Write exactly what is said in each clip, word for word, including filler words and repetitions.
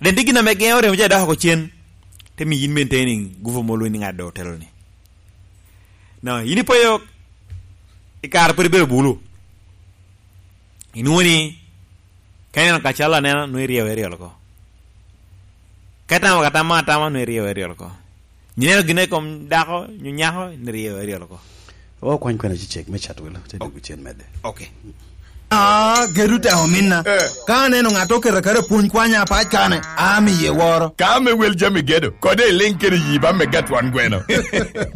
Den tye gin ame geŋo remo ca dok oko cen, te miyo yin maintain gupu mo lweny ni ŋat doŋ otelo ni. No, yin ipoyo i kare pwod ibedo bulu. Inwoŋo ni, ka ineno kacalo aneno, nwoŋo iryeyo eryol oko. Ka itamo ka tamo atama, nwoŋo iryeyo eryol oko. Ineno gin i kom dako, nyo nyako, nwoŋo iryeyo eryol oko. Okwany kwena cecek me cat welo, te dwogo cen medde. Ok. Ah, gedo te ominna. Eh. Ka aneno ŋat oketo kare pwony kwanya apac kane, amiye woro. Ka ame wel jami gedo, kode iliŋ kede yi ba me gatwan gweno.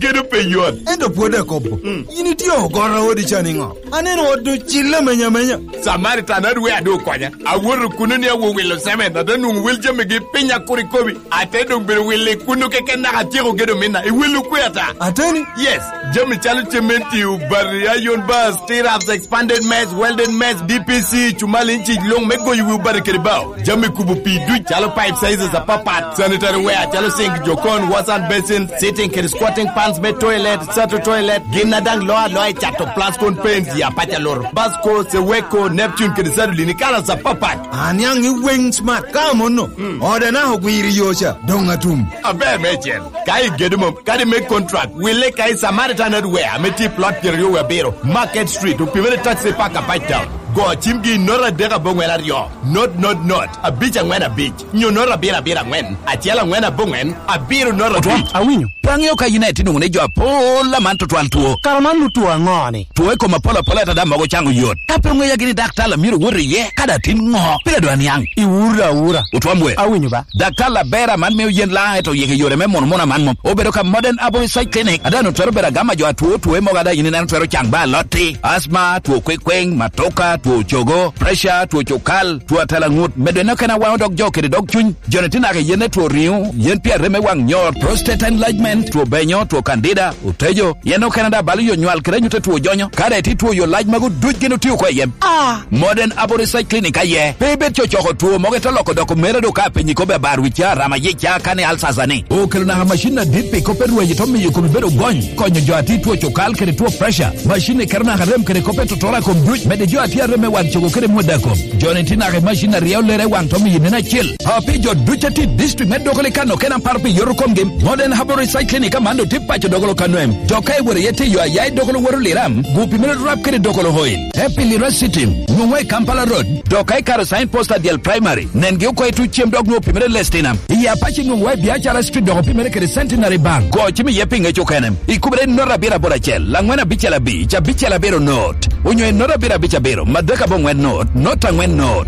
Gedo pe yot. Ento pwod akobo. Mm. Yin itye ogoro odi ca niŋo? Aneno ot ocille amenya amenya. Samaritan adwe adu okonya. Awoto kuno ni awo wilo semen, ate nwoŋo wel jamigi piny akur ikobi. Ate doŋ bedo wilo i kuno keken naka atyeko gedo minna. I welo kwe ata? Ateni? Yes. Jami calo cementi, obati, iron bars, stirrups, expanded mess, welded mess, D P C, cumal inci luŋ me goyo wi obati kede bao. Jami kubo pii duc calo pipe sizes apapat, sanitary ware calo sink, jokon, wash and basin, sitting kede squatting pans me toilet, sato toilet, gin a daŋ loo aloa i cato plascon paints ya paca loro. Basco, Seweko, Neptune kede Sadolin i kalas apapat. Aniaŋ i weng smart ka amono. Mm. Ode naka ogwiro i yo ca, doŋ atum. Aber meicel. Ka igedo mom, kadi me contract, wille ka i Samaritan Hardware ame tye i plot pyeraryo wie abiro, Market Street, opimere taxi park apac town. Go cimgi i note adek aboŋwen aryo, note, note, note, abic aŋwen abic, nyo note abiro abiro aŋwen, acel aŋwen aboŋwen, abiro note abic. Otwom, awinyo. Pe aŋeo ka yin aye tye nwoŋo ni jo apol aman tutwal two. Kara man nu two aŋo ni? Two i kom apol apol ata daŋ mogo caŋo yot. Ka pe oŋeya gini daktar a myero wot iye, kadi atin ŋo? Pire dwa niaŋ. Iwura awura. Otwom we. Awinyo ba. Daktar aber aman mio yen laŋ eto yeke yore me mono mono aman mom. Obedo ka Modern Herbal Research Clinic. Ada no twero bedo agama jo atwo two mogo ada yin ineno twero caŋ ba alotti. Asma, two kwekweng, matoka, two cogo, pressure, two cukal, two atalaŋut. Medo eno kena waŋo dog jo kede dog cuny. Joni tye naka i yen me two riŋo, yen pi arem me waŋ nyot, prostate enlargement, two benyo, two candida, otejo, yen okene daŋ balo yo nywal kede anyut a two jonyo. Ka daŋ itye two yo lac magu duc gin otio oko i yem. Ah! Modern Herbal Research Clinic aye. Pe ibed cocoko two mogo ite loko doko mere do ka apenyi kobbe abar wica, rama yica, kani alsasa ni. Okelo naka macin adit pi kop me rwenyo to miyo komi bedo gony, konyo jo a tye two cukal kede two pressure. Macin ni keto naka rem kede kop me totora kom duc, medde jo a tye arem me waŋ cogo kede mwodda kom. Joni tye naka i macin aryo lere waŋ to miyo neno acel. A pi jo duc a tye i district me Dokolo i kano kena apar pi yoto komgi, Modern Herbal Research Clinic aman doŋ tye paco Dokolo kano em. Dok ka iwoto iye tiyo aya i Dokolo woto Liram, gupi mere rap kede Dokolo Oil. Happy Lira City, nwoŋo i Kampala Road. Dok ka ikaro sign post Adyel Primary, nengi oko i tuc cem dok nwoŋo pi mere Lestina. I Apache nwoŋo i Biacara Street dok pi mere kede Centenary Bank. Go cim iye pi ŋec okene. Ikubere i not abiro aboro acel, laŋwen abicel abic, abicel abiro not. Onyo i not abiro abic abiro, madek aboŋwen not, not aŋwen not.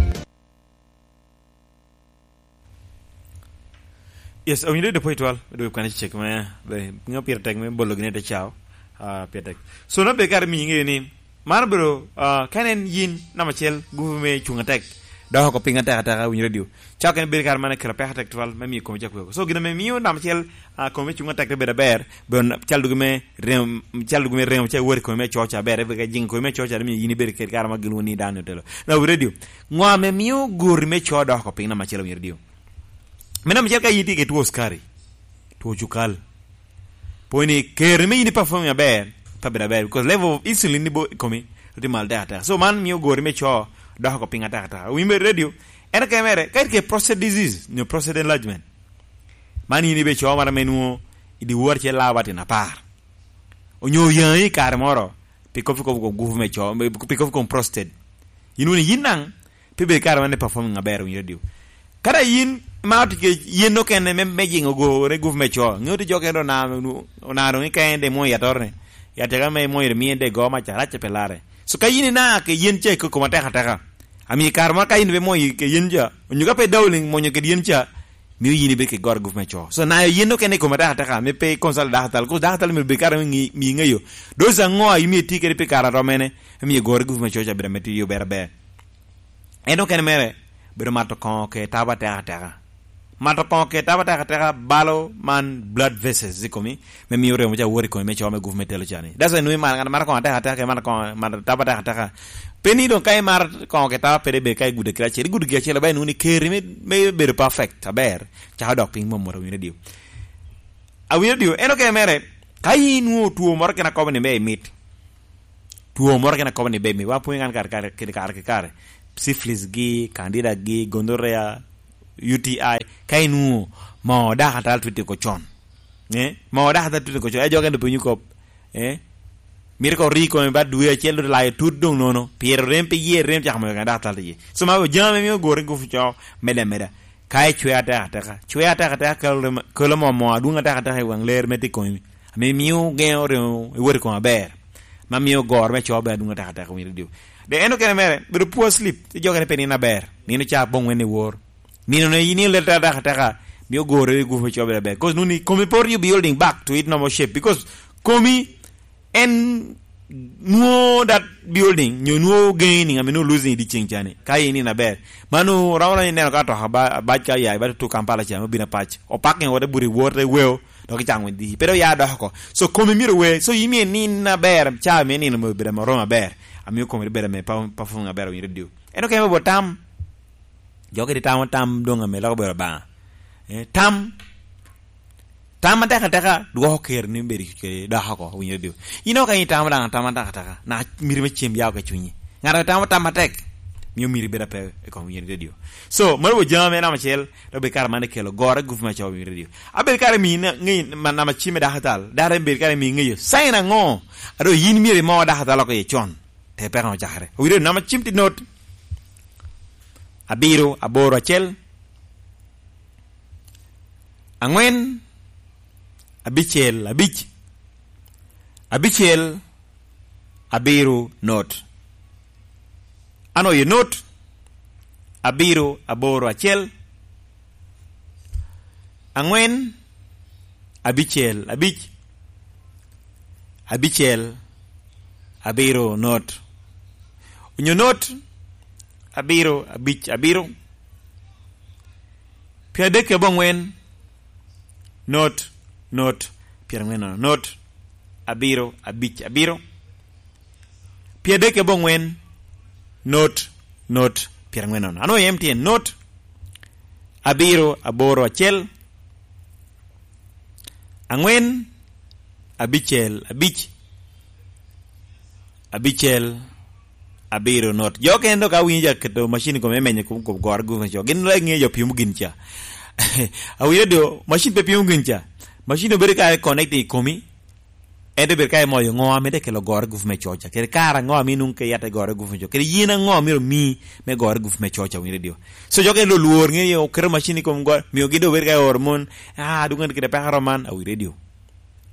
Yes, owinjo dede pwod twal, dwe kwan cek me, be, ŋeo pire tek me bolo gine te cao, ah, pire tek. So, na be kare miyo ŋeyo ni, mar bro, ah, ka en yin namba acel, gupu me cuŋ atek, dok oko piny atek ateka, winyo radio. Cao kene bedo kare man akelo peko atek twal, me miyo kome cak weko. So, gin ame miyo namba acel, ah, kome cuŋ atek te bedo aber, bro, cal dugi me rem, cal dugi me remo, ca wori kome me coca aber, ebe ka jiŋ kome me coca, miyo yin ibedo kede kare ma gilwongo ni dano otelo. Na wi radio, ŋo ame mio gori me co dok oko piny namba acel owinyo radio? Me namba acel ka in itye ki two sukari, two cukal, pwony ni keri me in i performing aber, pe bedo aber, because level of insulin ni bo i komi, tye malo tek ateka. So man mio gori me co dok oko piny ateka ateka. Owinyo radio, en okene mere, ka itye ki prostate disease, nyo prostate enlargement. Man in ibe co mara me nwo i dyewor acel lawa tin apar. Onyo oyaŋi i kare moro, pi kop, pi kop, pi kop gupu me co, pi kop, pi kop prostate. Yin wun yin naŋ, pe bedo kare wan i performing aber, winyo radio. Kara yin, ma otye ke yen okene me, me jiŋo gore gupu me co. Ŋeo ti jo kene onaro, onaro ni ka en de mwo yatore. Yatega me mwo yere mi en de go ma carac pe lare. So ka yin ina ke yen ca i koko matek ateka. Ami kare moro ka yin pe mwo ke yen ca, onyo ka pe dawling mwonyo kede yen ca, mio yin ibed kede goro gup me co. So, nayo yen okene i kome atekateka, me pe i consult daktar, because daktar myero bed kare me ngi-, miyi ŋeyo. Dozi aŋo a imio itye kede pi kare a rom mene, me miyo goro gup me co ca bedo ame tiyo berber. En okene mere, bedo mato koŋo ke tabo atekateka. Mato koŋo ke tabo atekateka balo man blood vessels i komi, me miyo remo ca wot i komi me co me gup me telo ca ni. That's why nwoŋo imaro, ŋat maro koŋo atekateka, ke maro koŋo, maro tabo atekateka. Pe ni doŋ ka imaro koŋo ke tabo pede bed ka igudo kite acel, igudo gin acel, ba inwoŋo ni keri me, me bedo perfect, aber, cako dok piny mom moto awinyo dio. Awinyo dio, en okene mere, ka in nwoŋo two moro kene akobo ni me imit, two moro kene akobo ni be imit, wa pwonyo kan kare, kare, kare, kare, kare, syphilis gi, candida gi, gonorrhea, U T I, ka inwoŋo moo dakatal twiti oko con. Eh? Moo dakatal twiti oko con. Eh, jo kene penyo kop. Eh? Mito ka ori kome ba dwe acel, dok layo tut doŋ nono. Pire rem pi yie, rem cako moyo kene dakatal iye. So, ma jami mio gore gufu co, meda, meda. Ka icwe atek ateka, cwe atek ateka, kelo, kelo moo, moo adwoŋ atek ateka i waŋ ler me tye i komi, ame mio geŋo remo iwot i kome aber, ma mio goro me co bene adwoŋ atek ateka, winyo redio. De en okene mere, bedo poor sleep, i jo kene pe nino aber, nino ca aboŋwen i wor. Nino ne yin ilete atek ateka, mio goro i gufu me co bene aber. 'Cause nuni komi pe orio building back to it normal shape, because komi en nwoŋo that building, nyo nwoŋo gaining, ame nwoŋo losing i dyeceŋ ca ni. Ka in in aber. Man oromo ni ineno ka atoka ba-, abac ka ya, ba tutu Kampala ca, me obino apac. Opaking wote bute wor te weo, dok icaŋ winy dhi. Pe dok ya dok oko. So, komi myero we. So, in myero inin aber, ca myero inino me bedo ame oromo aber. Amio komi bedo ame pa-, performing aber, winyo redio. En okeme bot tam. Jo kede tamo tam doŋ ame loko bedo Obaŋa. Eh, tam, tam atek ateka dwoko ker ni bedo kede dok oko, winyo redio. In oko ka in itamo daŋ tam atek ateka, na miti me cem ya oko i cunyi. Ŋat ame tamo tam atek, mio miti bedo ape i kom winyo redio. So, mano bo jami ame namba acel, dok bed kare man ikelo gore gufu me co winyo redio. Abed kare mi na-, ŋe ma-, namba cim me dakatal, dakatal bed kare mi ŋeyo. Sign aŋo? Ado yin myero imo dakatal oko iye con. Te peko ocakere. Owinyo namba cim tye not. Abiro, aboro, acel. Aŋwen, abicel, abic. Abicel, abiro, not. Ano ye not. Abiro, aboro, acel. Aŋwen, abicel, abic, abicel, abiro, not. Onyo not, abiro, abic, abiro, pyeradek aboŋwen, not, not, pyeraŋwen nono, not, abiro, abic, abiro, pyeradek aboŋwen, not, not, pyeraŋwen nono. Ano M T N, not, abiro, aboro, acel, aŋwen, abicel, abic, abicel, abiro, not. Jo kene dok awinyo ja keto macin i kome me menyo kom, kom goro gufu me co. Gin dok ŋeyo jo pimo gin ca. Awinyo do, macin pe pimo gin ca. Macin obedo ka connecting i komi. Ento bedo ka imoyo ŋo ame te kelo goro gufu me co ca. Kede kare aŋo ame inwoŋo ke yat i goro gufu me co. Kede yin aŋo ame omii me goro gufu me co ca, winyo redio. So jo kene dok lwor ŋeyo oketo macin i kom goro, mio gin dok bedo ka oro mon, ah, dwoggo kede peko roman, awinyo redio.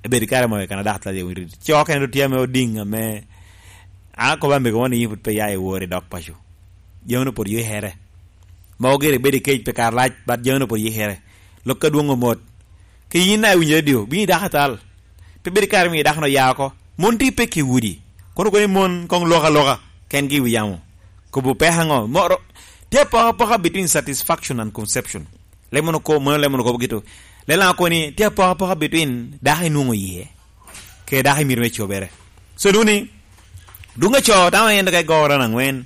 Ebedo kare moyo kan adak tye, winyo redio. Co kene dok tye ame odiŋ ame, ah, kobo amego mo ni yin pwod pe ya i wor i dok paco. Jami-nu pwod yikere. Mogo gire bedo i kec pi kare lac, but jami-nu pwod yikere. Lok adwoŋ omot. Ka yin daŋ iwinyo redio, bino i dako atal. Pe bedo kare miyo dako-nu ya oko. Mon tye peke i udi. Kono kono i mon koŋ lok aloka, kengi i wi yamo. Kobo peko aŋo? Moro, tye apokapoka between satisfaction and conception. Leb mono ko-, mono leb mono kobo gitu. Leb laŋ okoni, tye apokapoka between dako inwoŋo iye, kede dako imito me cobere. So, duni, dwoŋ aco, tamo en ka igoro na aŋwen,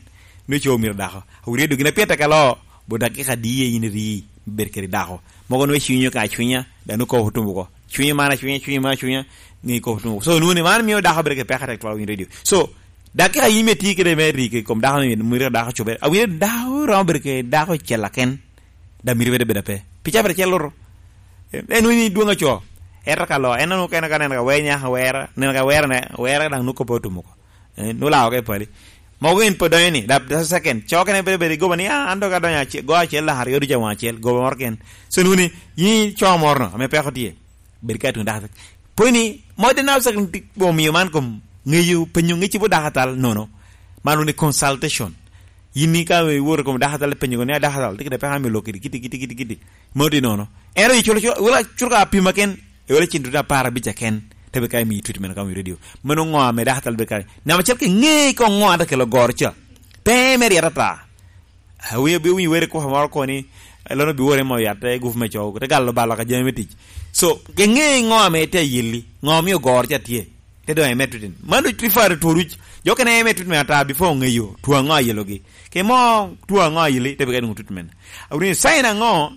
ni co myero dako. Awinyo redio gin a pye tek alo, bo dakika adi yin iri, bed kede dako. Mogo nwe cwinyo ka cwinya, dano kobo tumo ko. Cwinyo man acwinya, cwinyo man acwinya, nge kobo tumo ko. So, nuni man mio dako bedo kede peko tek twal winyo redio. So, dakika yin me tye kede me ri kede kom dako ni, mito dako cobere. Awinyo dako romo bedo kede dako cel aken. Da mito bedo bedo ape. Pi cabere cel loro. En wini dwoŋ aco. Ento ka lo, en onwoŋo kene ka neno ka wer nyaka wera, neno ka wera ne, wera daŋ nwoŋo kopo otumo ko. Eh, nwoŋo lao ka i pali. Mogo in pe donyo ni, da, da second. Co kene bedo bedo igoba ni, ah, an dok adonyo ace-, go acel, lak aryo ducu awaŋ acel, goba moro ken. So nwini, yin co moro no, ame peko tye. Bed ka tuŋ dakatal. Pwony ni, mo de na second ti-, omio man kom, ŋeyo, penyo ŋecci bo dakatal, nono. Man woni consultation. Yin ni ka iwoto i kom dakatal, ipenyo ni, "A dakatal, tye kede peko ame lok kidi, kidi, kidi, kidi, kidi." Mano tye nono. Ento iculo, culo, wala culo ka apima ken, iwala cin tutu apar abic aken, te bed ka imiyo treatment ka omiyo redio. Mano ŋo ame dakatal bed ka? Namba acel ka iŋe koŋ ŋo ate kelo goro ca. Pe me ryet ata. Awinyo, bi winyo were kuka moro koni, eh, lono bi wore mo yat, eh, gufu me cogo, te galo balo ka jami me tic. So, iŋe ŋo ame te ayelli, ŋo omio goro ca tye. Te doŋ eme treatment. Man doŋ refer to duc. Jo kene eme treatment ata before oŋeyo two aŋo ayelogi. Ke mo two aŋo ayeli, te bika nwoŋo treatment. Awinyo sign aŋo?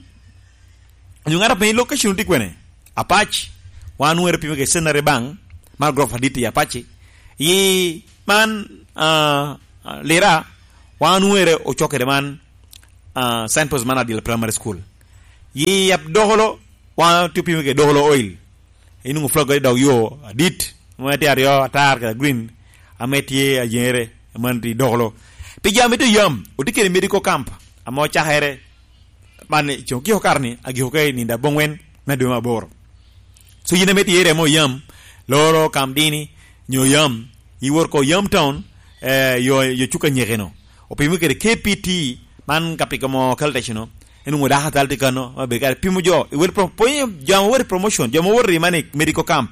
Onyo ŋat apenyo location tye kwene? Apac. Wan were pimo ke Centenary Bank, man gorofa adit i Apac. Yi man, ah, ah, Lira, wan were ocok kede man, ah, signpost man Adil Primary School. Yi yap dokolo, wan otye pimo kede dokolo oil. Inwoŋo flogo i dog yo adit, mano tye aryo, atar kede green, ame tye ayeŋere, man tye dokolo. Pi jami tye yam, otye kede medical camp, ame ocakere, man i coŋ kiko kare-ni, agiko ka i nino aboŋwen me dwe me aboro. So yin ame tye i area me Oyam, loro Kamdini, nyo Oyam, iwor ko Oyam Town, eh, yo, yo cuka nyekeno. Opimo kede K P T, man ka piko mo Caltex no, en onwoŋo dako atal tye kano, ma bedo kare pimo jo, i wel pro-, pwonyo jo ame wot i promotion, jo ame wot i man i medical camp.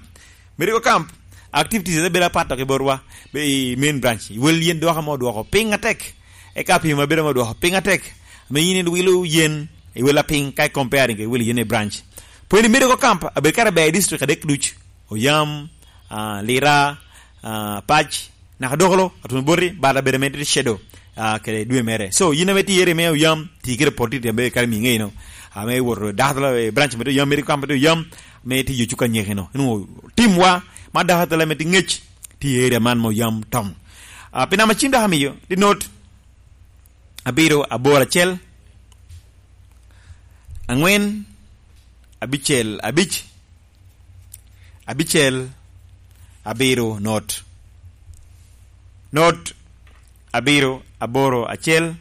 Medical camp, activities ne bedo apat dok i borwa, be i main branch. I wel yen dwoko ame odwoko piny atek. Eka pimo bedo ame odwoko piny atek. Ame yin iwilo yen, i wel apiny, ka i comparing i wel yen i branch. Pwony i medical camp, abedo kare ber i district adek duc. Oyam, ah, Lira, ah, Pac, naka Dokolo, Atuno Boti, but abedo ame tye shadow, ah, kede dwe mere. So, yin ame tye i area me Oyam, ti kede poti, ti abedo kare mi ŋeino. Ame woto dako atala, eh, branch me tye Oyam, medical camp me tye Oyam, me tye yo cuka nyekino. Inwoŋo timwa, ma dako atala me tye ŋec, tye i area man me Oyam Town. Ah, pi namba cim dok amiyo, tye not, abiro, aboro, acel, angwen, abicel, abic, abicel, abiro, not. Not, abiro, aboro, acel,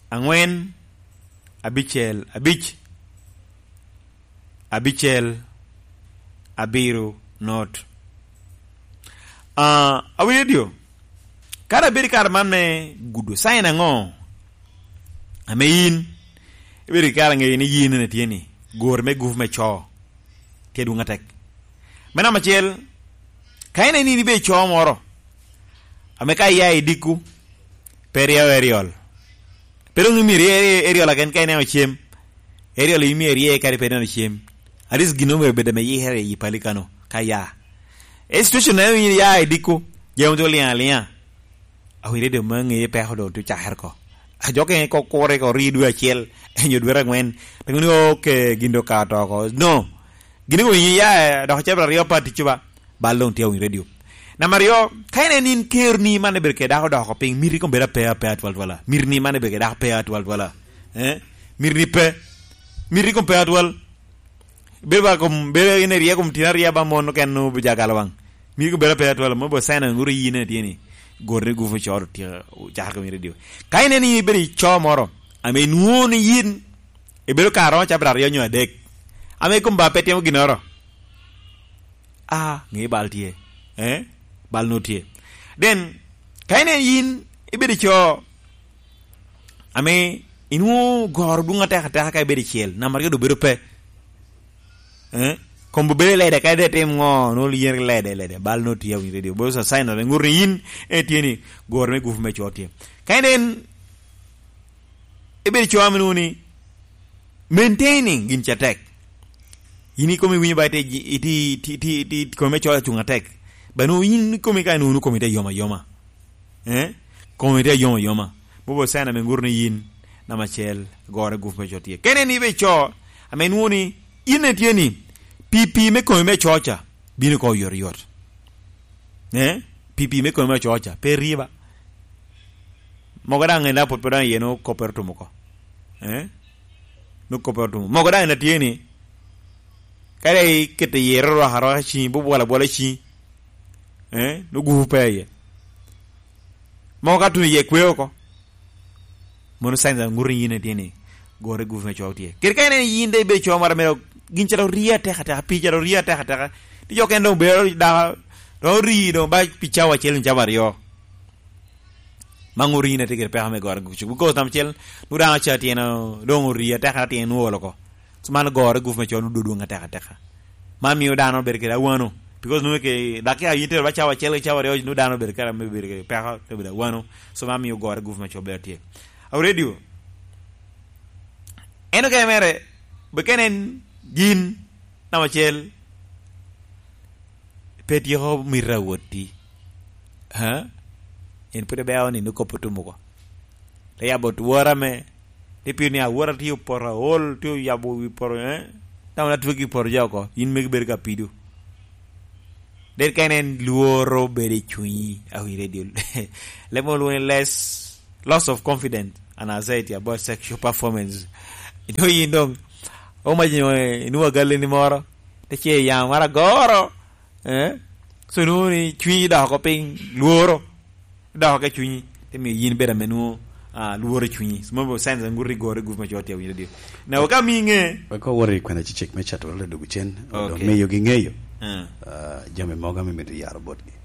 angwen, abicel, abic, abicel, abiro, not. Ah, awinyo dio, kara bedo i kare man me gudo, sign aŋo ame yin ibedo i kare aŋeyo ni yin ene tye ni, gori me gupu me co tye adwoŋ atek? Me namba acel, ka in eni ibedo i co moro, ame ka iya i dikku, pe ryeo eriol. Pe doŋ imito i-, i-, eriol aken ka ineno cem. Eriol imito irye kadi pe ineno cem. At least gin omyero bed ame yikere i pali kano, ka ya. E situation na in ya i dikku, jami tye oliŋ aliŋa. Awire doŋ ma ŋeye peko doŋ tye ocakere ko. A jo kene ko kure ko ri dwe acel, enyo dwe aŋwen. Doŋ ni, "Okay, gin doŋ ka to ko." No. Gin ko in ya, eh, dok ocabit aryo pa ticci ba. Bal doŋ tye awiny radio. Namba aryo, ka in en in keroni man ibedo kede dako doko piny, miti kom bedo ape, ape atwal twala. Miti ni man ibedo kede dako ape atwal twala. Eh? Miti ni pe. Miti kom pe atwal. Bedo ba kom, bedo in irye kom tino arya ba mon oken nu bija galo waŋ. Miti kom bedo ape atwal, mo bo sign aŋuru yin en tye ni. Gor ni gufu coro tye, cakere kom radio. Ka in en in ibedo i co moro, ame inwoŋo ni yin, ibedo ka romo cabit aryo nyo adek. Ame kom ba pe timo ginnoro. A, ŋe bal tye. Eh? Bal no tye. Then, ka in en yin, ibedo i co, ame inwoŋo goro dwoŋ atek ateka ka ibedo i cel, namba aryo doŋ bedo pe. Eh? Kombo bedo i lede, ka ide tim ŋo, nwoŋo yen lede, lede. Bal no tye, awinyo radio. Boso sign of, ŋut ni yin, eh, tye ni, goro me gufu me co tye. Ka in en, ibedo i co ame nwoŋo ni, maintaining gin ca tek. Yin ikomi winyo ba ite, iti, iti, iti, iti, komi me coc acuŋ atek. Ba nwoŋo yin ikomi ka nwoŋo komi te yom ayoma. Eh? Komi te yom ayoma. Bobo sign ame ŋuto ni yin, namba acel, gore gufu me co tye. Kene ni ibe co, ame nwoŋo ni, yin ne tye ni, pipi me komi me coc ca, bino ko oyot oyot. Eh? Pipi me komi me coc ca, pe riba. Mogo daŋ en daŋ pwod pe daŋ iye nwoŋo koppere otum oko. Eh? Nwoŋo koppere otum. Mogo daŋ en atye ni, kadi ikete iye rwaka rwaka ciŋi, bubwala bwala ciŋi. Eh? Nwoŋo gupu pe iye. Mogo ka tuno iye kwe oko. Mono signs of ŋuto ni yin itye ni, gore gupu me co tye. Kadi ka ineno yin de ibedo co moro mere, gin ca dok rie atek ateka, pii ca dok rie atek ateka. Ti jo kene doŋ bedo dako, dok ori doŋ ba pi cawa acel nyo cawa aryo. Ma ŋuto yin atye kede peko me gore gupu. Because namba acel, nwoŋo dano ca tyen doŋ ori atek atyen nwoŋo olo oko. So man gore gupu me co nwoŋo dwoŋ atek ateka. Man mio dano bedo kede awano. Because nwoŋo ke, dakika yin tero ba cawa acel ki cawa aryo, nwoŋo dano bedo kede, me bedo kede peko, te bedo awano. So man mio gore gupu me co bedo tye. Awo radio. En okene mere, be kene en gin, namba acel, pe tyeko mito awotti. Ha? En pwod ibeo ni nwoŋo kop otum oko. Te yabo twora me, ni piro ni awora tye opoto aol, tye oyabo wi poto, eh? Dama na twegi poto ja oko, yin megi bedo ka pido. Del ka en en lworo bedo i cunyi, awi radio. Lemo lwongo ni less, loss of confidence and anxiety about sexual performance. Ito yin doŋ, omac nyo, eh, inwoŋo agalli ni moro, te ce yam mara goro, eh? So, inwoŋo ni cwinyi dok oko piny, lworo, dok oko i cwinyi, te miyo yin bedo ame nwoŋo, ah, lworo i cwinyi. So, mano sense, ngut i goro i gup macol tye awinyo radio. Na wek ami ŋe. Wek owot i kwena cicek me cato wek odogo cen, odo Ok. miyo gi ŋeyo. Ah. Ah, jami mogo ame mito yaro botgi.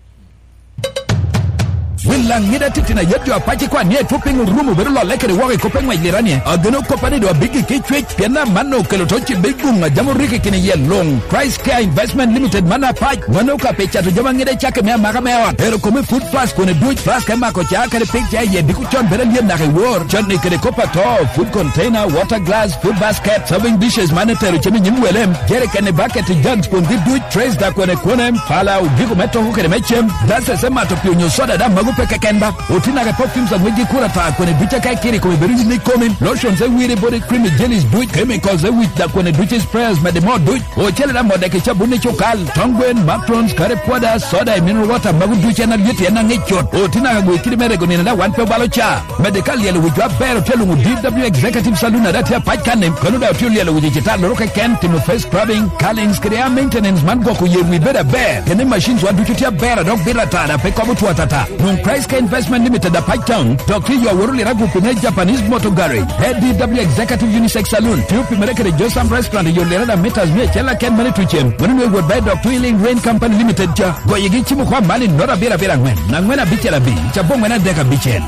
Wil Laŋet atitino ayet jo apac ikwan ni etwo piny orumo bedo lolle kede woko i kop eŋwec lirani. Ageno koppa ni doŋ abiggi ki cwec, pien amanno okelo to cibbe i guŋ a jam orikki kine iye luŋ. Price Care Investment Limited man apac, wan okape cato jami aŋet acakki me amaka me ot. Ero kome food flask kone duc, flask me mako ca kede pig ca iye diko con bedo alyet naka i wor. Cotni kede kop ato, food container, water glass, food basket, serving dishes man etero cem i nyim welem, jerikeni, baketi, jugs kun gi duc, trays da kwene kwene, pala, ogiko me toko kede me cem, glasses me mato pii onyo soda da mago pe keken ba. Oti naka perfumes a ŋwecgi kuro ata kwene duc aka ikiri kome bedo yin ikomi, lotions e wiri body cream, jellies duc, chemicals e wic da kwene duc, sprayers mede mo duc, ocele da modde ki cabun i cukal, tong gwen, matrons, curry powder, soda e mineral water mago duc en alyet en aŋec cut. Oti naka gwe kidi me rego nino da wan pe obalo ca. Mede ka lyelo wicwa aber otye luŋo D W Executive Saloon a daŋ tye apac kanni, kono daŋ otye olyelo wic i citalloro keken, timo face scrubbing, curlings kede hair maintenance man gwoko yer wi bedo aber. Kene machines wa ducu tye aber a dok bito ata daŋ pe kobo two atata. Nwoŋ Price Care Investment Limited apac town, dok tye yo aworo liragu pine Japanese Motor Garage, A D W Executive Unisex Saloon, tye opimere kede Josam Restaurant i yo lirada meters mia acel aken mane tucem. Mano nwe wot bayi dok Twilling Rain Company Limited ca. Goyegi cimo kwa mani nota abiro abiro aŋwen, aŋwen abicel abic, cabbo aŋwen adek abicel.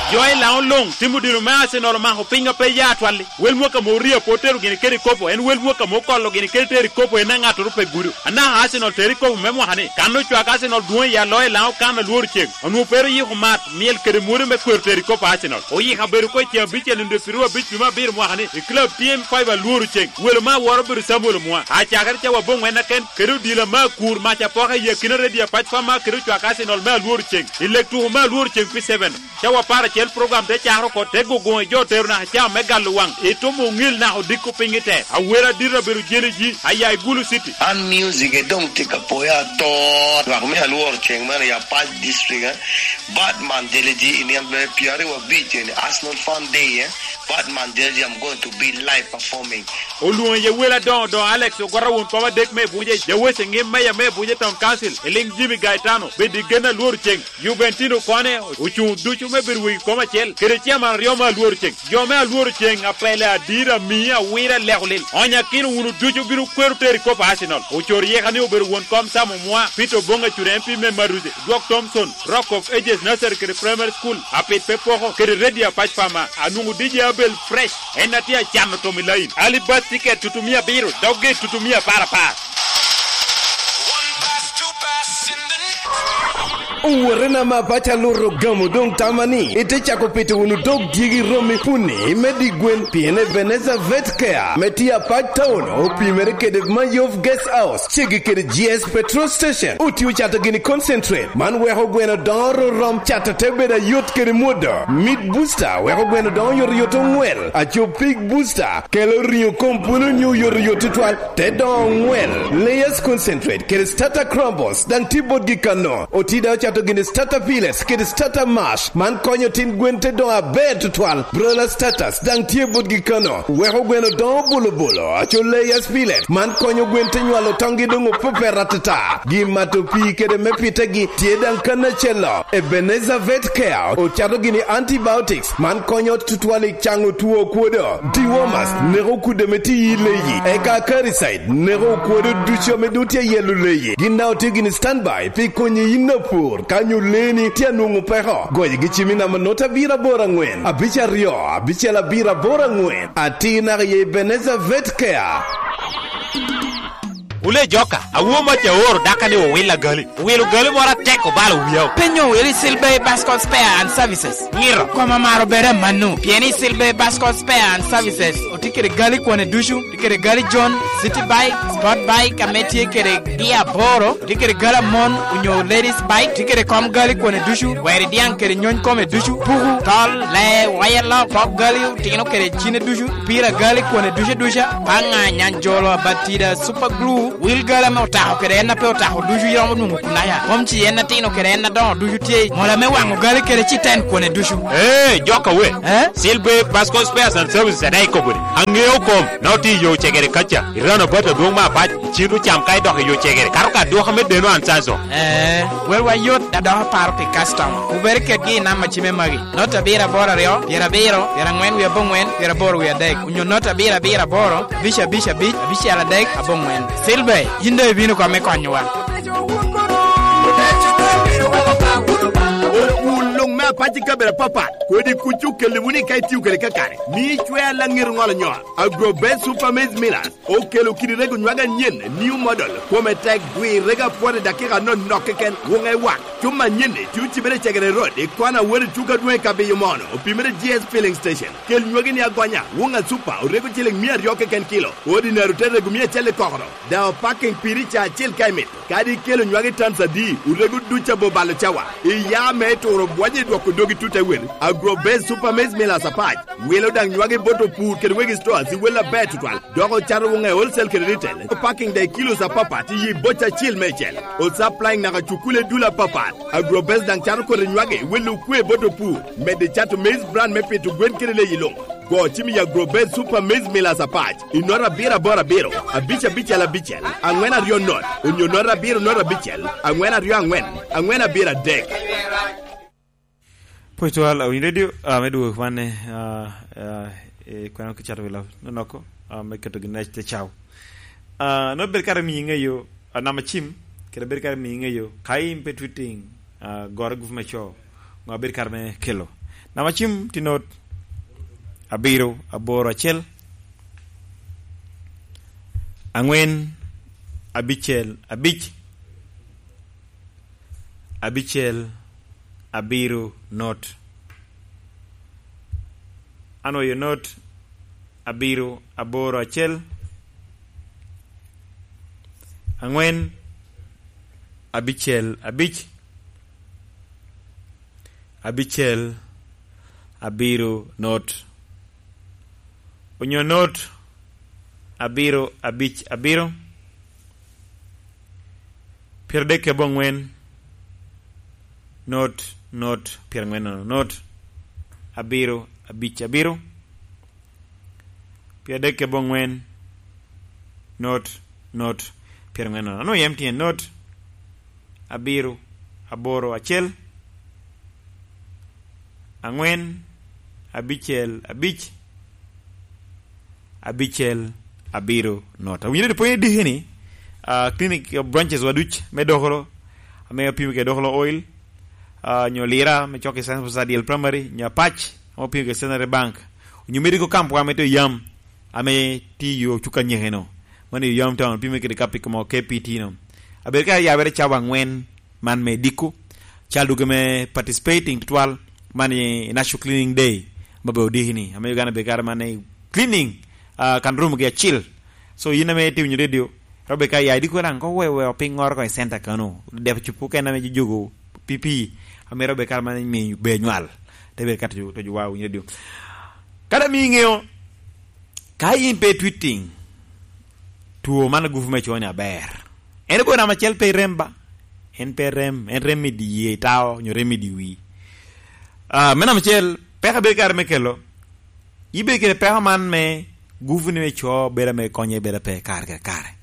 Jo i Laŋo luŋ timo dino me Arsenal omako piny a pe ya atwal-li. Wel mwaka ame orio pe otero gini kede kopo, en wel mwaka ame okolo gini kede tero i kopo en aŋattoro pe gudo. Anaka Arsenal tero i kopo me mwaka-ni, kan ocwak Arsenal dwoŋ i aloyo i Laŋo kan alworo ceng, onwoŋo pe ru yiko mat, myel kede mwodo me kwero tero i kopo Arsenal. Oyiko abedo oko i ceŋ abicel nino dwe piru abic dwe me abiro mwaka-ni, i club T M five alworo ceng. Welo me awora obedo Samuel Omwa. Acakere cawa aboŋwen aken, kede odila me akur mac apoka i akina redio apac pama kede ocwak Arsenal me alworo ceng. I lek tuko me alworo ceng pi seven. Cawa apar acel program te cakere oko, te gogoŋ i jo otero naka cawa me galo waŋ. Itumo oŋil naka odiko piny i te. Awera adito abedo jeni ji, aya i Gulu City. An music e doŋ tye ka poya atot. Lwak me alworo ceng mene i Apac District, eh. Batman Deleji i nino me pyeraryo abic eni Arsenal Fun Day, eh. Batman Deleji, I'm going to be live performing. Olwoŋo iye wel adoŋo doŋo Alex Ogwata won kom adek me Abuja, Jawece ŋim meya me Abuja Town Council, Eliŋ Jimmy Gaetano, bed i gen alworo ceng, Juventino Kone, ocuŋ ducu me bedo wegi kom acel, kede ciaman aryo me alworo ceng. Jo me alworo ceng, apele, adira, mia, awira, leko lil. Onyakino wunu ducu bino kwero tero i kop Arsenal. Ocor yeka ni obedo won kom Sam Omwa, Peter Oboŋ Acure M P me Maruze, Dwok Thompson, Rock of Ages Nursery kede Primary School, Apit pe poko, kede Radio Apac Pama, anwoŋo D J Abel Fresh, en a tye acano tom i lain. Early bird ticket tutumia abiro, dogge tutumia apar apar. Owotena ma paco aluto gamo doŋ tama ni ite cako pito wunu dog dyegi romi puni me di gwen, pien Ebenezer Vet Care me tye Apac Town opimere kede Mayov Guest House, ceggi kede G S Petrol Station. Otio cato gini concentrate, man weko gweno doŋo ororom, cato te bedo ayot kede mwodo. Meat Booster weko gweno doŋo yotoyot oŋwel. Aco Pig Booster kelo riŋo kom pwolo nyo yotoyot tutwal, te doŋo oŋwel. Layers Concentrate kede Starter Crumbles daŋ tye botgi kano. Oti daŋ ocato gini Starter Pellets kede Starter Mash, man konyo tin gwen te doŋo aber tutwal. Broiler Starters daŋ tye botgi kano, weko gweno doŋo bolobolo. Aco Layers Pellet, man konyo gwen te nywalo toŋgi doŋ opepet atata. Gin mato pii kede me pitegi tye daŋ kan acel-lo. Ebenezer Vet Care ocato gini antibiotics, man konyo tutwal i caŋo two kwodo. Dewormers neko kudde ame tye i leyi, eka Acaricide neko kwodo ducu ame doŋ tye yelo leyi. Gin daŋ otye gini standby pi konyi yin apur ka nyo leeni tye anwoŋo peko. Goyigi cim i namba nota abiro aboro aŋwen, abic aryo, abicel abiro aboro aŋwen. Atir naka i Ebenezer Vet Care. Wule joka, awo mac aoro daka ni owil agali. Owil ogali moro atek obalo wiya. Penyo wili Silver Bascot Spare and Services. Ngiro. Koma maro bere manu. Pien i Silver Bascot Spare and Services, otye kede gali kwane ducu, tye kede gali John, City Bike, Sport Bike, ame tye kede gi aboro, tye kede gali amon, onyo ladies bike, tye kede kom gali kwane ducu, weri diaŋ kede nyony kome ducu, puku, tol, lee, wire lock, pok gali, otino kede cine ducu, pira gali kwane ducu duca, panga, nyanjolo, abatida, super glue, Wil gal ame otako kede en a pe otako ducu iromo nwoŋo kunaya. Mom ci en atino kede en adoŋo ducu tye i mola me waŋo gali kede citen kone ducu. Ee, jok awe. Eh? Silver Pasco Spares and Services adaŋ ikobo ni, aŋeo kom, na otye i yo cegere kaca, i roundabout adwoŋ me Apac, iciro cam ka idok i yo cegere, kato ka aduka me deno Ansanso. Eh, welwa yot, da dok aparo pi customer. Wubed kedgi i namba cime magi. Not abiro aboro aryo, pyerabiro, pyeraŋwen wie aboŋwen, pyeraboro wie adek, onyo not abiro abiro aboro, abic abic abic, abicel adek, aboŋwen. Silver, yin doŋ ibino kome konyowa. Okul luŋ me Apac i kabedo apapat, kodi kuc okelliwu ni ka itio kede kakare, mi icwer laŋet oŋolo nyot. Agro Best Super Maize Millers okelo kidi rego nywage anyen, new model, kome tek, gwir rego apwot i dakika anonok keken, wuŋe wak. Cuma anyen-ni tye ocibere i Cegere Road, i kona wot i tuko adwoŋ i Kabiyo Mono, opimere G S Filling Station. Kel nywagi ni agonya, wuŋa Super, orego ciliŋ mia aryo keken kilo, Ordinary te rego mia acel i kokoro. Daŋ opaking piri ca acel ka imito. Kadi ikelo nywagi tans adi, orego duc abo balo cawa. Iya me turo bwonyo i dwoko dogi tut awel. Agro Best Super Maize Millers Apac wilo daŋ nywagi bot opur kede wegi stores i wel aber tutwal. Dok ocato wuŋe wholesale kede retail. Opaking daŋ i kilos apapat i yi boca acel meicel. Osupplying naka cukule dul apapat. Agro Best daŋ cato kodi nywagi i wel okwe bot opur. Medde cato maize bran me pito gwen kede leyi luŋ. Go cim i Agro Best Super Maize Millers Apac i nota abiro aboro abiro, abic abicel abicel, aŋwen aryo not, onyo nota abiro nota abicel, aŋwen aryo aŋwen, aŋwen abiro adek. Pwod twal, Awiny Radio, ah, me dwogo kwane, ah, ah, eh, kwano ki cato wi lab nonoko, ah, me keto gin i te caw. Ah, nongo bed kare miyo iŋeyo, ah, namba cim, kede bed kare miyo iŋeyo, ka in pe twitting, ah, goro gup me co, ŋo a bed kare me kelo. Namba cim tye not abiro aboro acel, aŋwen abicel abic, abicel abiro not. Anwoyo not abiro aboro acel, aŋwen abicel abic, abicel abiro not, onyo not abiro abic abiro, pyeradek aboŋwen, not, not, pyeraŋwen nono, not, abiro, abic, abiro, pyeradek aboŋwen, not, not, pyeraŋwen nono. Anwoŋo yam tye not, abiro, aboro, acel, aŋwen, abicel, abic, abicel, abiro, not. Awinyo ni pwony adiki ni, ah, clinic, ah, branches wa duc me Dokolo, ame opimo kede Dokolo Oil, ah, nyo Lira, me cok i Science Bus Adiel Primary, nyo Apac, ame opimo kede Centenary Bank, onyo Medical Camp wa me to yam, ame tye i yo cuka nyeke no. Mano i yam town, opimo kede kapiko mo K P T no. Abedo ka yabere cawa aŋwen, man me diko, cal dwogo me participating tutwal, man i National Cleaning Day, ma be odiki ni, ame Uganda bedo kare man i cleaning, ah, kan room gi acil. So, yin ame itye winyo radio, robe ka ya idiko daŋ, ko we, we opiŋŋoro ko i center kano, dep cupu kene ame jogo pipi, ame robe kare man imiyo be nywal, te bedo ka to, to wa winyo radio. Kada mi iŋeo, ka yin pe twitting, two man gupu me coni aber. En obedo namba acel pe rem ba. En pe rem, en rem i dye tao, nyo rem i dye wi. Ah, me namba acel, peko bedo kare me kelo. Ibedo kede peko man me gupu ni me co bedo me konye bedo pe kare kede kare.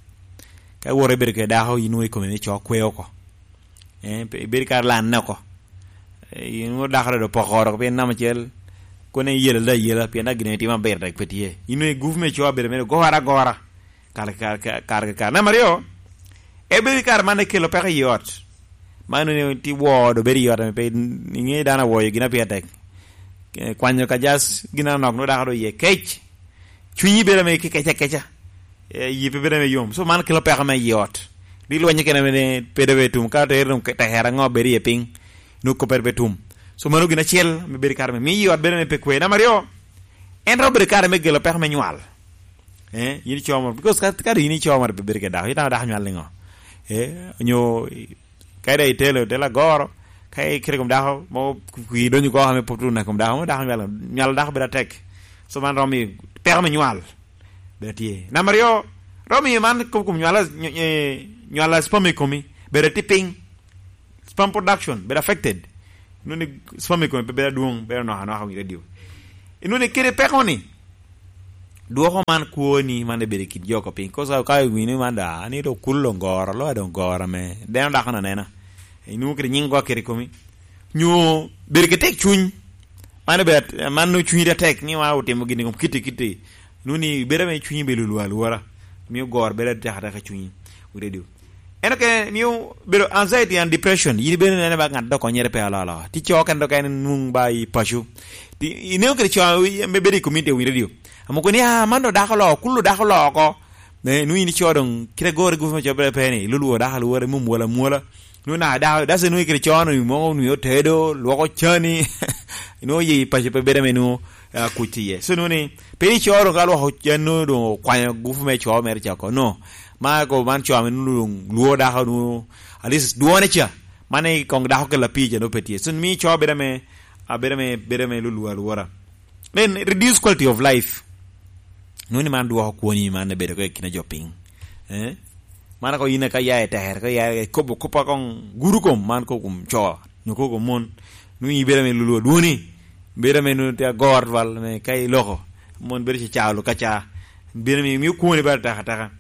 Ka iwoto ibedo kede dako, inwoŋo i kome ni co kwe oko. Eh, pe-, ibedo kare lanne oko. Eh, inwoŋo dako dodo poko oko, pien namba acel, kone iyela da yela, pien da gin itimo aber tek pe tye. Inwoŋo i gupu me co abedo mere gora gora. Kare, kare, kare, kare, kare. Namba aryo, ebedo i kare man ekelo peko i ot. Man onwoŋo tye woo, doŋ bedo i ot, ame pe iŋe dano awoyo gin a pire tek. Eh, kwanyo ka jas gin anok, nwoŋo dako doŋ iye kec. Cwinyi bedo ame kec akeca. Eh, yi pe bedo ame yom. So man kelo peko me i ot. Di lweny kene ame pe doŋ bedo tum. Ka tere doŋ ke-, tekere aŋo bedo iye piny. Nwoŋo kop pe tum. So mano gin acel ame bedo i kare me. Miyo i ot bedo ame pe kwe. Namba aryo, en romo bedo kare me gelo peko me nywal. Eh, yin ico moro, because ka, ka yin ico moro, pe bedo kede dako, itamo dako nywal niŋo? Eh, onyo, ka ida itelo, itelo agoro, ka ikete kom dako, mo kwi donyo oko ame pwod oneko kom dako, mo dako nywal, nywal dako bedo atek. So man romo i peko me nywal, bedo tye. Namba aryo, Romo miyo man kop kom nywala, ny-, eh, nywala sperm i komi, bedo ti piny. Sperm production, bedo affected. Inwoni sperm i komi pe bedo adwoŋ, bedo anok anoka i radio. Inwoni kede peko ni, dwoko man kwoni, man ebedo i kin jo ko piny. Kosa ka iwinyo man da, ani do kul doŋ goro, lo doŋ goro ame deno dako na nena. Inwongo kede nyiŋ gwa kede i komi. Nyo bedo ki tek cuny. Man obedo at-, man nwoŋo cunyi te tek ni wa otimo gini kom kitti kitti. Nwoŋo ni bedo ame cunyi bedo lwar alwora. Mio goro bedo atek ateka i cunyi. Wi radio. En okene mio bedo anxiety and depression. Yin ibedo nene ba ŋat dok konyere pe alolo. Ti co kene dok en nwoŋ ba i paco. Ti, ineo kede co me bedo i community wi radio. Amo koni, "Ah, man do dako lo, kulu dako lo oko." Ne, nwoŋo yin ico doŋ, kite gore gufe me cobere pe ni, ilulwo dako alwora, imum wala mwala. Nwoŋo na da, dase nwoŋo kede cono, nwoŋo nwoŋo tedo, lwoko cani. Nwoŋo yi paco pe bedo ame nwoŋo, ah, kuc tye iye. So nwoŋo ni, pe ico doŋ ka lwoko can nwoŋo doŋ okwanyo gufu me co mere cako. No. Ma ko man co ame nwoŋo doŋ lwo dako nwoŋo, at least dwone ca. Man i koŋ dako kela pii ca nwoŋo pe tye. So mi co bedo ame, ah, bedo ame, bedo ame lulwo alwora. Then reduce quality of life. Nwoŋo ni man dwoko kwoni man ebedo ko i kine jo piny. Eh? Man ako yin ka ya i tere, ka ya i kobo kop akoŋ guru kom, man ko kom co, nyo ko kom mon. Nwoŋo ibedo ame lulu adwoni, bedo ame nwoŋo tye agor dwal me ka iloko. Mon bedo cacalo kaca. Bedo ame mio kwoni bal taka taka.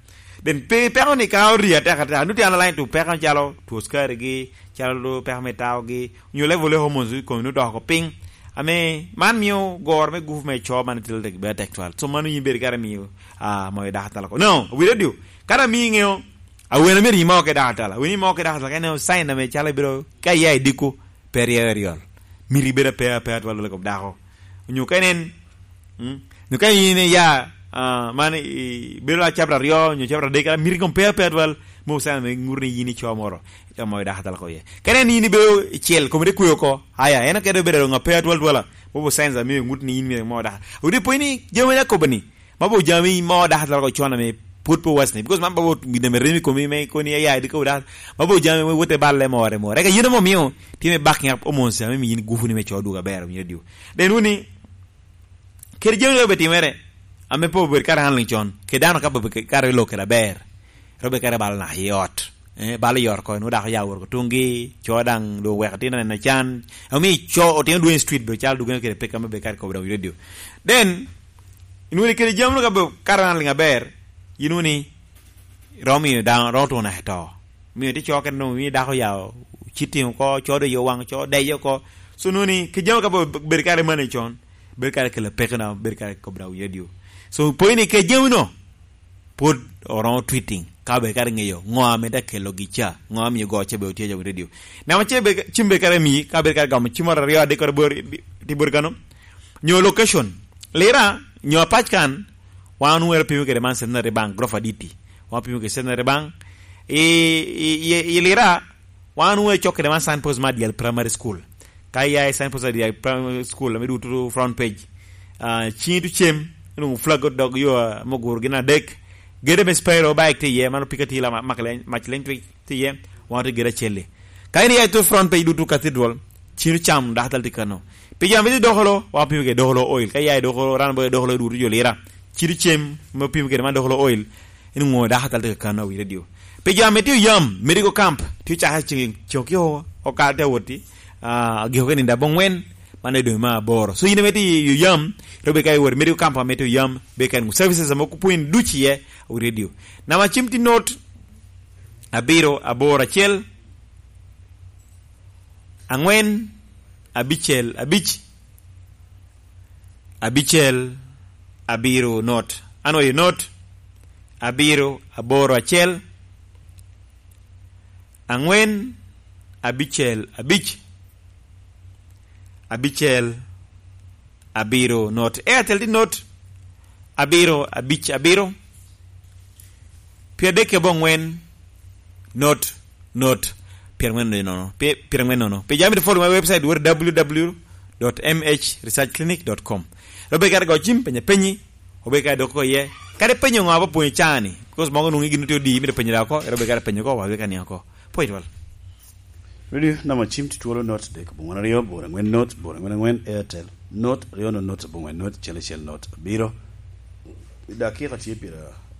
Then pe, peko ni ka ori ateka ateka, nwoŋo tye underlying to peko calo two sukari gi, calo peko me tawo gi, nyo level of hormones i komi nwoŋo doko piny. Ame man mio goro me gufu me co man tye tek, bedo tek twal. So mano yin bedo kare mio, ah, moyo dako atala ko. No, wi radio, kara mi ŋeo, awene myero imo ke dako atala. Awene imo ke dako atala, kene sign ame calo ibiro, ka iya i diko, pe ryeo i ryol. Miti bedo ape, ape atwal i kom dako. Onyo ka en, mm, onyo ka in iya, ah, man i, bedo a chapter aryo, onyo chapter adek, kara miti kom pe ape atwal, mo sign me ŋuto ni yin ico moro, ico moro dako atwal ko iye. Ka en in ibedo icel, kome te kwe oko, aya, en okede obedo ŋa pe atwal twala, mo sign me ŋut ni yin myero mo dako. Odi po ni, jami na kobo ni, ma bo jami mo dako atwal ko con ame pwod pe wasni, because man ba bo gin ame remi komi me koni aya, di ko dako, ma bo jami me wote balle more more. Eka yen mo mio, time backing up hormones ame mi yin gufu ni me co dwogo aber, winyo diu. Then wuni, kede jami doŋ obetimere, ame pe obedo kare handling con, kede dano ka pe obedo kare i lok kede aber, robe kare balo naka i ot, eh, balo i ot ko, nwoŋo dako ya wot ko tuŋgi, co daŋ doŋ weko tino neno can, omi co otino dwong i street bedo calo dugene kede peka me bedo kare kobo daŋ wi radio. Then, inwoŋo ni kede jami doŋ ka bedo kare handling aber, inwoŋo ni romo miyo daŋ, romo tuŋo naka i to. Miyo tye co kene doŋ, miyo dako ya citting oko, co doŋ yo waŋ, co deyo oko. So, nwoŋo ni, kede jami ka bedo kare mane con, bedo kare kelo pekona, bedo kare kop daŋ wi radio. So, pwony ni kede jami no, pwod oromo tweeting, ka bedo kare ŋeyo ŋo ame te kelo gi ca, ŋo ame miyo go ca bedo tye jo wi radio. Namba acel be, cim bedo kare mi, ka bedo kare gamo cim moro aryo adek kore bor, ti bor kano. Nyo location. Lira, nyo apac kan, wan onwero pimo kede man Centenary Bank, grofa diti. Wan pimo kede Centenary Bank. I, i, i, i Lira, wan onwero cok kede man signpost ma Adyal Primary School. Ka iya i signpost Adyal Primary School, ame duto front page. Ah, cingi tucem, inwoŋo flag dog yo, ah, moguro gin adek. Gede me spero bike tye iye, mano pika tye la ma-, mak leny, mac leny tye iye, wan tye gede acel-li. Ka in iya i to front page duto Cathedral, cino cam dako atal tye kano. Pi jami tye dokolo, wa pimo kede dokolo oil. Ka iya i dokolo, ran boyo dokolo duto jo Lira. Cino cem, me pimo kede man dokolo oil, in ŋo dako atal tye kano wi radio. Pi jami tye oyam, medical camp, tye caka ceng, ceng ki o, okal te woti, ah, agiko ke nindo abongwen, man e dwe me aboro. So, in ame tye i oyam, ro be ka iwot i medical camp ame tye oyam, be ka in services ame okupwiny duc iye, wi radio. Namba cim tye not, abiro, aboro, acel, angwen, abicel, abic, abicel, abiro, not. Anwoyo not, abiro, aboro, acel, angwen, abicel, abic, abicel, abiro, not. Airtel tye not, abiro, abic, abiro, pyeradek ki abongwen, not, not, pyerangwen nono, pye-, pyerangwen nono. Pi jami to follow my website, wot w w w dot m h research clinic dot com. Robe kare go cim, penya penyi, obe kare dok oko iye. Kare penyo ŋo aba pwonyo cani, because mogo nwoŋo gin tye odi, mito penyo da oko, robe kare penyo ko, wa weka ni oko. Pwony twal. Radio, namba cim tye twolo not dek, abongwen aryo, bor angwen not, bor angwen angwen, Airtel, not, aryo not, not, abongwen not, cel acel not, abiro. I dakika tye pira,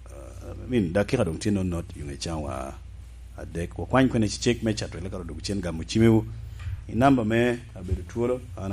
ah, I mean, dakika doŋ tye nonot, yuŋ ecawa adek. Wakwany kwene cecek me cato, eka dok cen gamo cimewu. I namba me abedo twolo, an